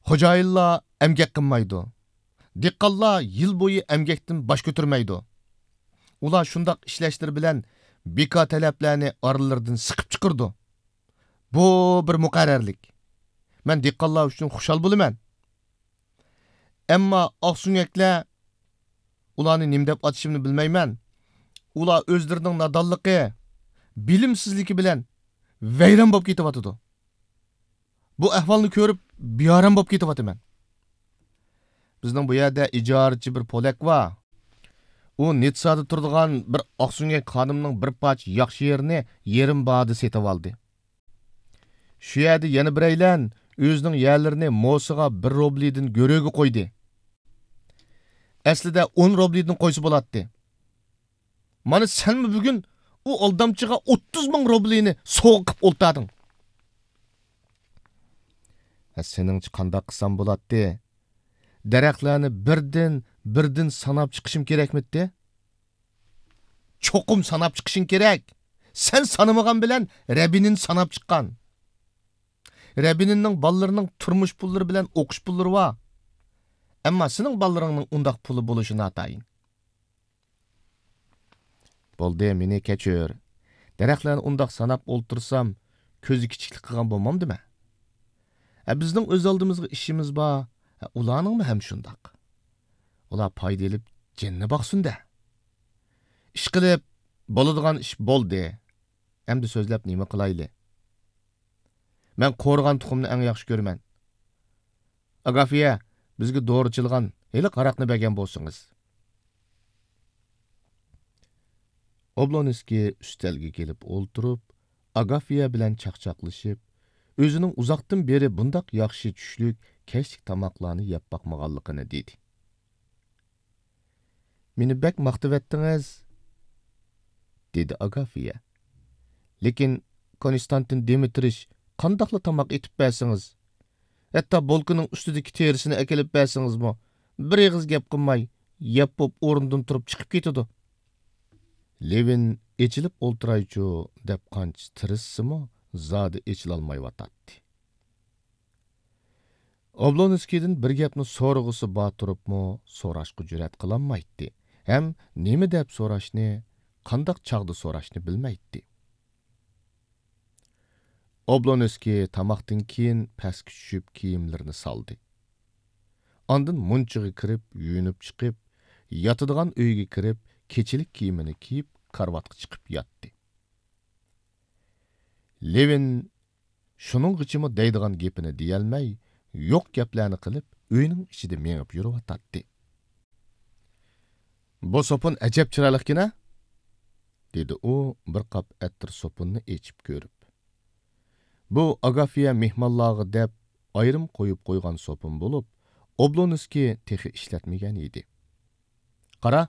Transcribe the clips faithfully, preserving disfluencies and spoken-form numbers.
خوجايىنلار ئەمگەك قىلمايدۇ. دېھقانلار يىل بويى ئەمگەكتىن باش كۆتۈرمەيدۇ. ئۇلار شۇنداق ئىشلەشلىرى بىلەن بىكار تەلەپلەرنى ئارىلىرىدىن سىقىپ چىقىرىدۇ. بۇ بىر مۇقەررەرلىك. مەن دېھقانلار ئۈچۈن خۇشال بولىمەن. ئەمما ئاقسۆڭەكلەر، ئۇلارنى نېمە دەپ ئاتىشىمنى بىلمەيمەن. ئۇلار ئۆزلىرىنىڭ نادانلىقى، بىلىمسىزلىكى بىلەن ۋەيران بولۇپ كېتىۋاتىدۇ. بۇ ئەھۋالنى كۆرۈپ بىئارام بولۇپ كېتىۋاتىمەن. بىزنىڭ بۇ يەردە ئىجارىچى بىر پولەك بار. ئۇ نىتسادا تۇرىدىغان بىر ئاقسۆڭەك خانىمنىڭ بىر پارچە ياخشى يېرىنى يېرىم باھادا سېتىۋالدى. شۇ يەردە يەنە بىرەيلەن ئۆزىنىڭ يەرلىرىنى موسىغا بىر روبلىدىن گۆرۈگە قويدى. ئەسلىدە ئون روبلىدىن قويسا بولاتتى. مانا سەنمۇ بۈگۈن ئۇ ئالدامچىغا ئوتتۇز مىڭ روبلىنى سوۋغا قىپ ئولتۇردۇڭ. ھە، سېنىڭچە قانداق قىلسام بولاتتى؟ دەرەخلەرنى بىردىن، بىردىن ساناپ چىقىشىم كېرەكمىتتى؟ چوقۇم ساناپ چىقىشىڭ كېرەك. سەن سانىمىغان بىلەن رەبىنىن ساناپ چىققان. رەبىنىننىڭ بالىلىرىنىڭ تۇرمۇش پۇللىرى بىلەن ئوقۇش پۇللىرى بار. ئەمما سېنىڭ بالىلىرىڭنىڭ ئۇنداق پۇلى بولۇشى ناتايىن. بولدى، مېنى كەچۈر. دەرەخلەرنى ئۇنداق ساناپ ئولتۇرسام، كۆزى كىچىكلىك قىلغان بولمامدىمەن؟ ئە، بىزنىڭ ئۆز ئالدىمىزغا ئىشىمىز بار. ئە، ئۇلارنىڭمۇ ھەم شۇنداق. ئۇلار پايدا ئېلىپ جېنىنى باقسۇن-دە. ئىشقىلىپ، بولىدىغان ئىش بولدى. ئەمدى سۆزلەپ نېمە قىلايلى؟ مەن قورۇغان تۇخۇمنى ئەڭ ياخشى كۆرىمەن. ئاگافىيە، بىزگە دورا چىلىغان ھېلىقى ھاراقنى بەرگەن بولسىڭىز. ئوبلونسكىي ئۈستەلگە كېلىپ ئولتۇرۇپ، ئاگافىيە بىلەن چاقچاقلىشىپ، ئۆزىنىڭ ئۇزاقتىن بېرى بۇنداق ياخشى چۈشلۈك، كەچلىك تاماقلارنى يەپ باقمىغانلىقىنى دېدى. مېنى بەك ماختىۋەتتىڭىز، دېدى ئاگافىيە. لېكىن، كونستانتىن دىمىترىچ، قانداقلا تاماق ئېتىپ بەرسىڭىز، ھەتتا بولكىنىڭ ئۈستىدىكى تېرىسىنى ئەكېلىپ بەرسىڭىزمۇ، بىر ئېغىز گەپ قىلماي، يەپ بوپ ئورنىدىن تۇرۇپ چىقىپ كېتىدۇ. لېۋىن ئېچىلىپ ئولتۇرايچۇ دەپ قانچە تىرىشسىمۇ، زادى ئېچىلالمايۋاتاتتى. ئوبلونسكىيدىن بىر گەپنى سورىغۇسى بار تۇرۇپمۇ، سوراشقا جۈرئەت قىلالمايتتى ھەم نېمە دەپ سوراشنى، قانداق چاغدا سوراشنى بىلمەيتتى. ئوبلونسكىي تاماقتىن كېيىن پەسكە چۈشۈپ كىيىملىرىنى سالدى. ئاندىن مۇنچىغا كىرىپ، يۇيۇنۇپ چىقىپ، ياتىدىغان ئۆيگە كىرىپ، كېچىلىك كىيىمىنى كىيىپ، كارىۋاتقا چىقىپ ياتتى. لېۋىن شۇنىڭغىچىمۇ دەيدىغان گېپىنى دېيەلمەي، يوق گەپلەرنى قىلىپ، ئۆينىڭ ئىچىدە مېڭىپ يۈرۈۋاتاتتى. بۇ سوپۇن ئەجەب چىرايلىقكەن-ە، دېدى ئۇ بىر قاپ ئەتىر سوپۇننى ئېچىپ كۆرۈپ. بۇ ئاگافىيە مېھمانلارغا دەپ ئايرىم قويۇپ قويغان سوپۇن بولۇپ، ئوبلونسكىي تېخى ئىشلەتمىگەن ئىدى. قارا،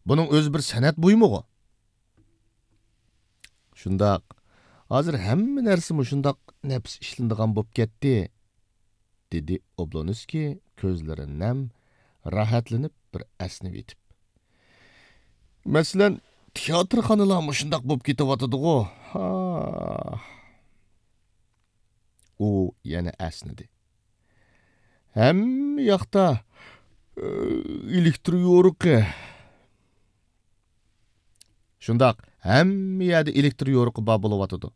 بۇنىڭ ئۆزى بىر سەنئەت بۇيۇمىغۇ. شۇنداق، ھازىر ھەممە نەرسە مۇشۇنداق نەپىس ئىشلىنىدىغان بولۇپ كەتتى، دېدى ئوبلونسكىي كۆزلىرى نەم، راھەتلىنىپ بىر ئەسنىۋېتىپ. مەسىلەن، تىياتىرخانىلار مۇشۇنداق بولۇپ كېتىۋاتىدىغۇ. ھا. ئۇ يەنە ئەسنىدى. ھەممە ياقتا، ئە، ئېلېكتر يورۇقى. شۇنداق، ھەممە يەردە ئېلېكتر يورۇقى بار بولۇۋاتىدۇ.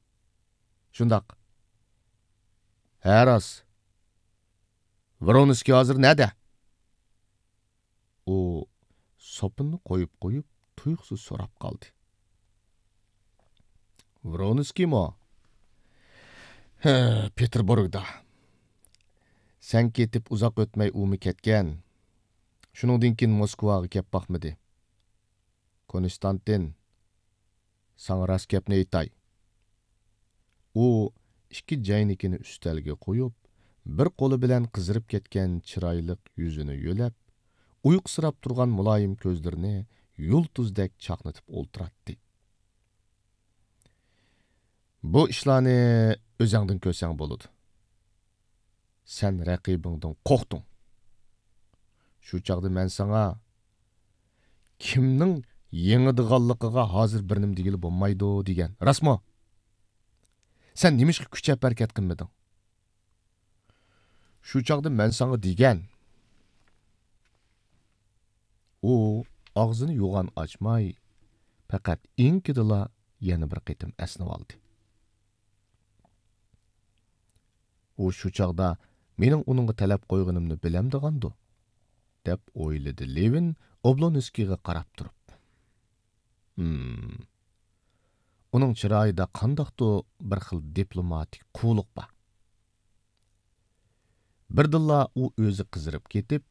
شۇنداق. ھە، راست. ۋرونسكىي ھازىر نەدە؟ ئۇ سوپۇننى قويۇپ قويۇپ، تۇيۇقسىز سوراپ قالدى. ۋرونسكىيمۇ؟ ھە، پېتېربۇرگدا. سەن كېتىپ ئۇزاق ئۆتمەي ئۇمۇ كەتكەن. شۇنىڭدىن كېيىن موسكۋاغا كەپ باقمىدى. كونستانتىن، ساڭا راست گەپنى ئېيتاي. ئۇ ئىككى جەينىكىنى ئۈستەلگە قويۇپ، بىر قولى بىلەن قىزىرىپ كەتكەن چىرايلىق يۈزىنى يۆلەپ، ئۇيقۇسىراپ تۇرغان مۇلايىم كۆزلىرىنى يۇلتۇزدەك چاقنىتىپ ئولتۇراتتى. بۇ ئىشلارنى ئۆزەڭدىن كۆرسەڭ بولىدۇ. سەن رەقىبىڭدىن قورقتۇڭ. شۇ چاغدا مەن ساڭا، كىمنىڭ يېڭىدىغانلىقىغا ھازىر بىر نېمە دېگىلى بولمايدۇ، دېگەن. راستمۇ؟ سەن نېمىشقا كۈچەپ ھەرىكەت قىلمىدىڭ؟ شۇ چاغدا مەن ساڭا دېگەن. ئۇ ئاغزىنى يوغان ئاچماي، پەقەت ئېڭىكىدىلا يەنە بىر قېتىم ئەسنىۋالدى. ئۇ شۇ چاغدا مېنىڭ ئۇنىڭغا تەلەپ قويغىنىمنى بىلەمدىغاندۇ؟ دەپ ئويلىدى لېۋىن ئوبلونسكىيغا قاراپ تۇرۇپ. ھىم. ئۇنىڭ چىرايىدا قانداقتۇ بىر خىل دىپلوماتىك قۇۋلۇق بار. بىردىنلا ئۇ ئۆزى قىزىرىپ كېتىپ،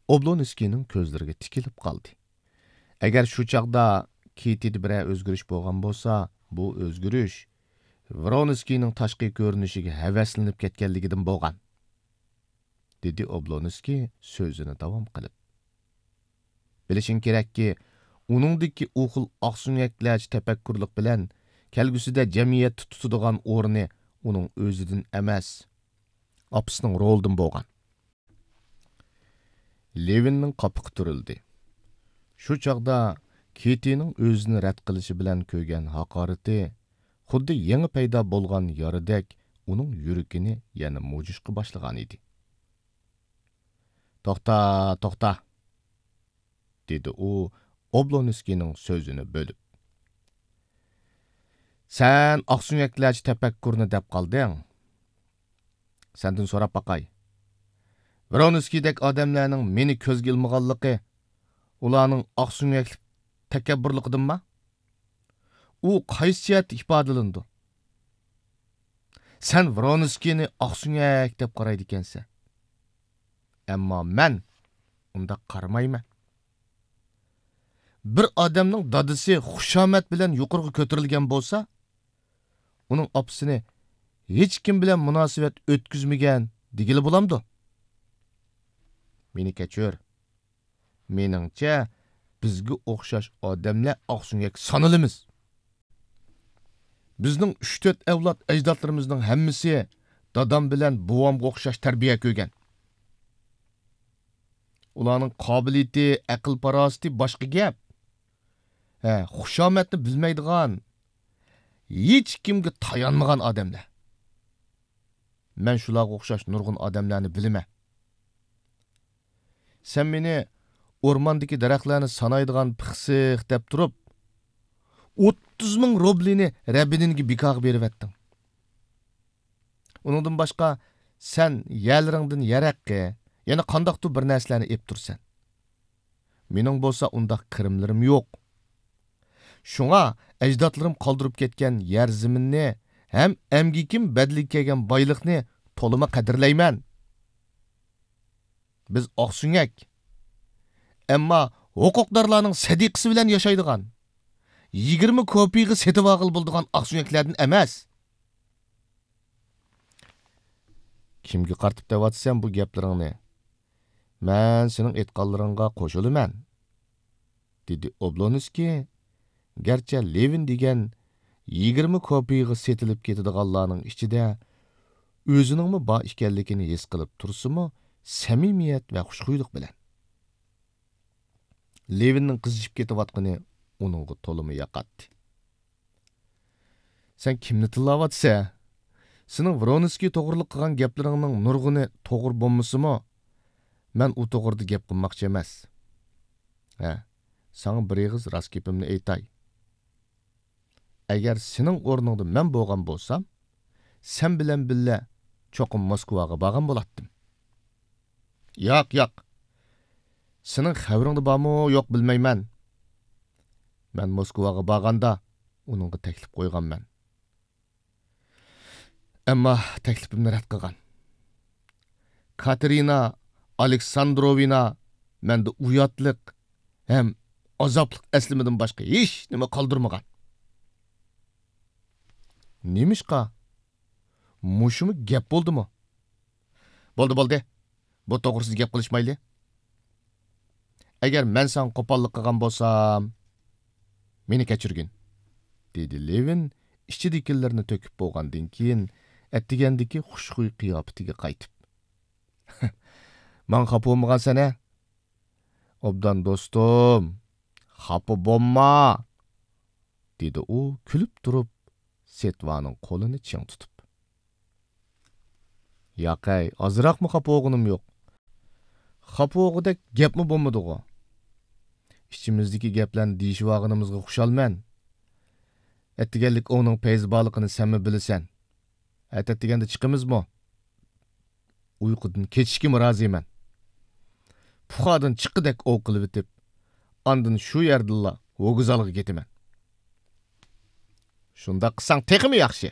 ئوبلونسكىينىڭ كۆزلىرىگە تىكىلىپ قالدى. ئەگەر شۇ چاغدا كېتىدە بىرەر ئۆزگىرىش بولغان بولسا، بۇ ئۆزگىرىش ۋرونسكىينىڭ تاشقى كۆرۈنۈشىگە ھەۋەسلىنىپ كەتكەنلىكىدىن بولغان، دېدى ئوبلونسكىي سۆزىنى داۋام قىلىپ. بىلىشىڭ كېرەككى، ئۇنىڭدىكى ئۇ خىل ئاقسۆڭەكلەرچە تەپەككۇرلۇق بىلەن كەلگۈسىدە جەمئىيەتتە تۇتىدىغان ئورنى ئۇنىڭ ئۆزىدىن ئەمەس، ئاپىسىنىڭ رولىدىن بولغان. لېۋىننىڭ قاپىقى تۈرۈلدى. شۇ چاغدا كېتىنىڭ ئۆزىنى رەت قىلىشى بىلەن كۆرگەن ھاقارىتى خۇددى يېڭى پەيدا بولغان يارىدەك ئۇنىڭ يۈرىكىنى يەنە مۇجۇشقا باشلىغانىدى. توختا، توختا! دېدى ئۇ ئوبلونسكىينىڭ سۆزىنى بۆلۈپ. سەن ئاقسۆڭەكلەرچە تەپەككۇرنى دەپ قالدىڭ. سەندىن سوراپ باقاي. ۋرونسكىيدەك ئادەملەرنىڭ مېنى كۆزگە ئىلمىغانلىقى ئۇلارنىڭ ئاقسۆڭەكلىك تەكەببۇرلۇقىدىنما؟ ئۇ قايسى جەھەتتە ئىپادىلىنىدۇ؟ سەن ۋرونسكىينى ئاقسۆڭەك دەپ قارايدىكەنسەن. ئەمما مەن ئۇنداق قارىمايمەن. بىر ئادەمنىڭ دادىسى خۇشامەت بىلەن يۇقىرىغا كۆتۈرۈلگەن بولسا، ئۇنىڭ ئاپىسىنى ھېچكىم بىلەن مۇناسىۋەت ئۆتكۈزمىگەن دېگىلى بولامدۇ؟ مېنى كەچۈر. مېنىڭچە، بىزگە ئوخشاش ئادەملەر ئاقسۆڭەك سانىلىمىز. بىزنىڭ ئۈچ-تۆت ئەۋلاد ئەجدادلىرىمىزنىڭ ھەممىسى دادام بىلەن بوۋامغا ئوخشاش تەربىيە كۆرگەن. ئۇلارنىڭ قابىلىيىتى، ئەقىل-پاراسىتى باشقا گەپ. ھە، خۇشامەتنى بىلمەيدىغان، ھېچكىمگە تايانمىغان ئادەملەر. مەن شۇلارغا ئوخشاش نۇرغۇن ئادەملەرنى بىلىمەن. سەن مېنى ئورماندىكى دەرەخلەرنى سانايدىغان پىخسىق دەپ تۇرۇپ، ئوتتۇز مىڭ روبلىنى رەبىدىنگە بىكاغا بېرىۋەتتىڭ. ئۇنىڭدىن باشقا، سەن يەرلىرىڭدىن يەر ھەققى، يەنە قانداقتۇر بىر نەرسىلەرنى ئېلىپ تۇرىسەن. مېنىڭ بولسا ئۇنداق كىرىملىرىم يوق. شۇڭا ئەجدادلىرىم قالدۇرۇپ كەتكەن يەر زېمىننى ھەم ئەمگىكىم بەدىلىگە كەلگەن بايلىقنى تولىمۇ قەدىرلەيمەن. بىز ئاقسۆڭەك، ئەمما ھوقۇقدارلارنىڭ سەدىقىسى بىلەن ياشايدىغان، يىگىرمە كوپىيىغا سېتىۋالغىلى بولىدىغان ئاقسۆڭەكلەردىن ئەمەس. كىمگە قارىتىپ دەۋاتىسەن بۇ گەپلىرىڭنى؟ مەن سېنىڭ ئېيتقانلىرىڭغا قوشۇلىمەن، دېدى ئوبلونسكىي، گەرچە لېۋىن دېگەن يىگىرمە كوپىيىغا سېتىلىپ كېتىدىغانلارنىڭ ئىچىدە ئۆزىنىڭمۇ بار ئىكەنلىكىنى ھېس قىلىپ تۇرسىمۇ، سەمىمىيەت ۋە خۇشخۇيلۇق بىلەن. لېۋىننىڭ قىزىشىپ كېتىۋاتقىنى ئۇنىڭغا تولىمۇ ياقاتتى. سەن كىمنى تىللاۋاتىسەن؟ سېنىڭ ۋرونسكىي توغرىلىق قىلغان گەپلىرىڭنىڭ نۇرغۇنى توغرا بولمىسىمۇ، مەن ئۇ توغرىدا گەپ قىلماقچى ئەمەس. ھە، ساڭا بىر ئېغىز راست گېپىمنى ئېيتاي. ئەگەر سېنىڭ ئورنۇڭدا مەن بولغان بولسام، سەن بىلەن بىللە چوقۇم موسكۋاغا بارغان بولاتتىم. ياق، ياق. سېنىڭ خەۋىرىڭدە بارمۇ يوق بىلمەيمەن. مەن موسكۋاغا بارغاندا ئۇنىڭغا تەكلىپ قويغانمەن. ئەمما تەكلىپىمنى رەت قىلغان. كاتېرىنا ئالېكساندروۋنا مەندە ئۇياتلىق ھەم ئازابلىق ئەسلىمىدىن باشقا ھېچنېمە قالدۇرمىغان. نېمىشقا؟ مۇشۇمۇ گەپ بولدىمۇ؟ بولدى، بولدى. بۇ توغرىسىدا گەپ قىلىشمايلى. ئەگەر مەن ساڭا قوپاللىق قىلغان بولسام، مېنى كەچۈرگىن، دېدى لېۋىن ئىچىدىكىلىرىنى تۆكۈپ بولغاندىن كېيىن، ئەتىگەندىكى خۇشخۇي قىياپىتىگە قايتىپ. ماڭا خاپا بولمىغانسەن ھە؟ ئوبدان دوستۇم، خاپا بولما، دېدى ئۇ كۈلۈپ تۇرۇپ، سېتۋانىڭ قولىنى چىڭ تۇتۇپ. ياقەي، ئازراقمۇ خاپا بولغىنىم يوق. خاپا بولغۇدەك گەپمۇ بولمىدىغۇ. ئىچىمىزدىكى گەپلەرنى دېيىشىۋالغىنىمىزغا خۇشالمەن. ئەتىگەنلىك ئوۋنىڭ پەيزى بارلىقىنى سەنمۇ بىلىسەن. ئەتە ئەتىگەندە چىقىمىزمۇ؟ ئۇيقۇدىن كېچىشكىمۇ رازىمەن. پۇخادىن چىققۇدەك ئوۋ قىلىۋېتىپ، ئاندىن شۇ يەردىنلا ۋوگزالغا كېتىمەن. شۇنداق قىلساڭ تېخىمۇ ياخشى.